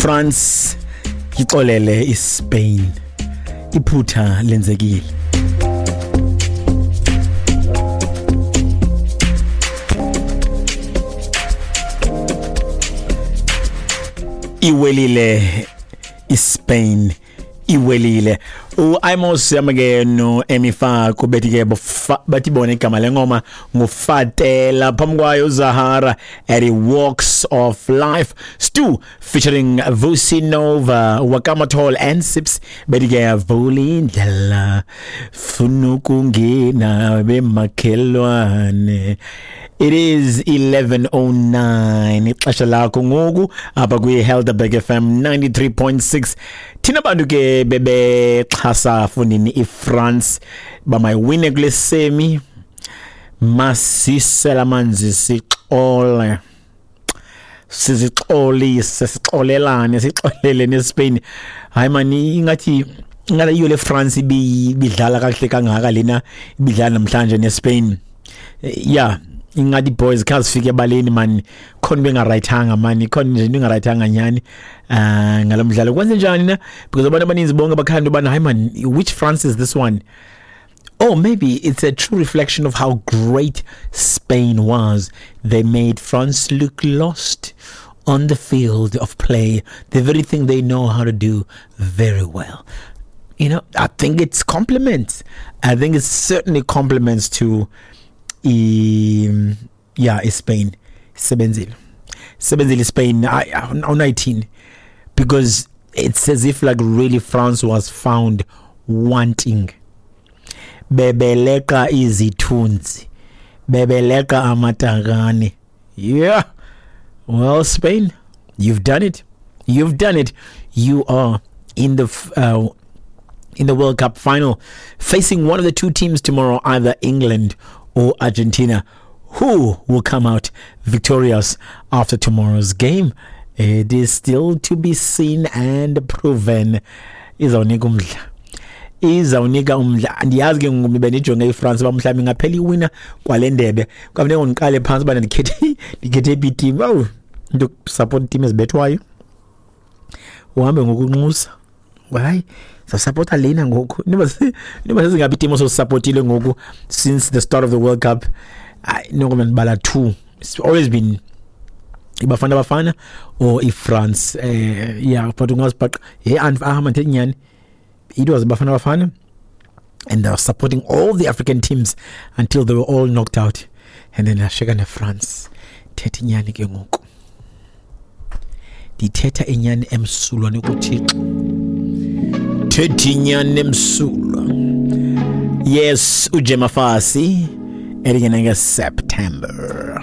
France ixolele iSpain, iphutha lenzekile. Iwelile iSpain, iwelile. UImos yamke no Emifa bethi ke bathi bona igama lengoma nguFatela, phambi kwayo Zahara at Walks of Life, Stu featuring Vusi Nova, Wakamatol and Sips bethi ke vulindlela funa ukungena bemakhelwane. It is 11:09 ixesha lakho ngoku apha kwi-Helderberg FM 93.6. Thina bantu ke bebexhasa fundini iFrance bamayiwine kule semi, masisela amanzi sixole, sizixolise, sixolelane, sixolele neSpain. Hayi mani, ingathi iyo le France ibidlala kakuhle kangaka lena ibidlala namhlanje neSpain. Yeah, ingathi boys khazifike ebaleni man, khona bengarayithanga man, khona nje into engarayithanga nyani ngalo mdlalo. Kwenze njani na? Because abantu abaninzi bonke bakhanda ubana hayi man, which France is this one? Oh, maybe it's a true reflection of how great Spain was. They made France look lost on the field of play, the very thing they know how to do very well. You know, I think it's compliments. I think it's certainly compliments to yeah, Spain. Sebenzile. Sebenzile Spain awunayithini, because it's as if like really France was found wanting. Bebeleka izithunzi, bebeleka amatakane. Yeah. Well, Spain, you've done it. You've done it. You are in the World Cup final, facing one of the two teams tomorrow, either England or Argentina. Who will come out victorious after tomorrow's game? It is still to be seen and proven. Izawunika umdla. Izawunika umdla. Andiyazi ke ngoku bendijonge iFrance uba mhlawumbi ingaphela iwina kwale ndebe. Kwafuneka ngiqale phantsi uba ndikhethe iphi team. Awu, into support team ezibethwayo. Uhambe ngokunxusa. Hayi, sasupporta lena ngoku. Niba sezingaphi team osupportile ngoku since the start of the World Cup? Hayi, noko mandibala 2. It's always been iBafana Bafana or iFrance. Yeah, but ungazibhaqa. Hey, mandithethe nyani. It was Bafana Bafana, and they were supporting all the African teams until they were all knocked out. And then asheka neFrance. Thetha inyani ke ngoku. Ndithetha inyani emsulwa nekuThixo. Thetha inyani emsulwa. Yes, uJemafasi elingenenge September.